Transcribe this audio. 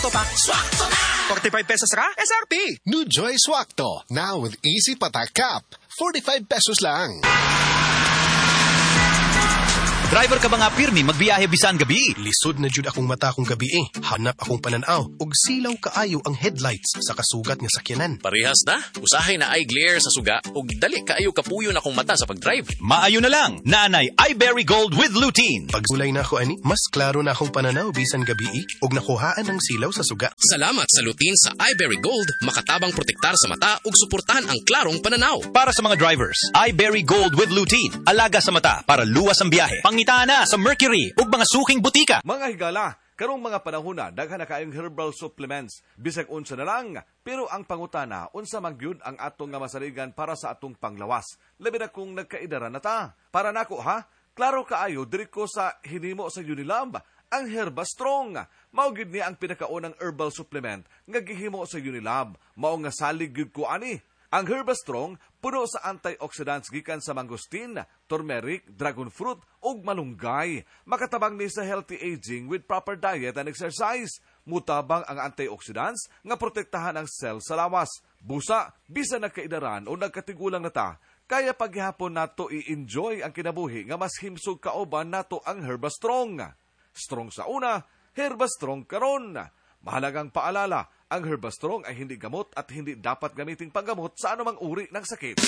Swakto pa. Swakto na! ₱45 ra, SRP. New Joy Swakto, now with easy patak cap. ₱45 lang. Driver ka ba nga pirmi magbiyahe bisan gabi? Lisod na jud akong mata kung gabi eh. Hanap akong pananaw ug silaw kaayo ang headlights sa kasugat nga sakyanan. Parehas na. Usahay naay glare sa suga ug dali kaayo kapuyon akong mata sa pag-drive. Maayo na lang. Naanay iBerry Gold with lutein. Pagsulay na ako ani, mas klaro na akong pananaw bisan gabi eh, ug nakuhaan ang silaw sa suga. Salamat sa lutein sa iBerry Gold, makatabang protektar sa mata ug suportahan ang klarong pananaw. Para sa mga drivers, iBerry Gold with lutein. Alaga sa mata para luwas ang biyahe. Pangitaa na sa Mercury ug mga suking butika. Mga higala, karong mga panahon na daghan na kaayong herbal supplements, bisag unsa na lang. Pero ang pangutana, unsa man gyud ang atong nga masaligan para sa atong panglawas? Labi na kung nagkaedaran na ta. Para nako ha, klaro kaayo diri ko sa hinimo sa Unilab, ang Herba Strong. Mao gyud ni ang pinakaunang herbal supplement nga gihimo sa Unilab. Mao nga salig gyud ko ani. Ang Herba Strong puno sa antioxidants gikan sa mangosteen, turmeric, dragon fruit ug malunggay. Makatabang ni sa healthy aging with proper diet and exercise. Mutabang ang antioxidants nga protektahan ang cell sa lawas. Busa, bisan nagkaidaran o nagkatigulang na ta, kaya paghihapon nato i-enjoy ang kinabuhi nga mas himsog kauban nato ang Herba Strong. Strong sa una, Herba Strong karon. Mahalagang paalala, ang Herba Strong ay hindi gamot at hindi dapat gamiting panggamot sa anumang uri ng sakit.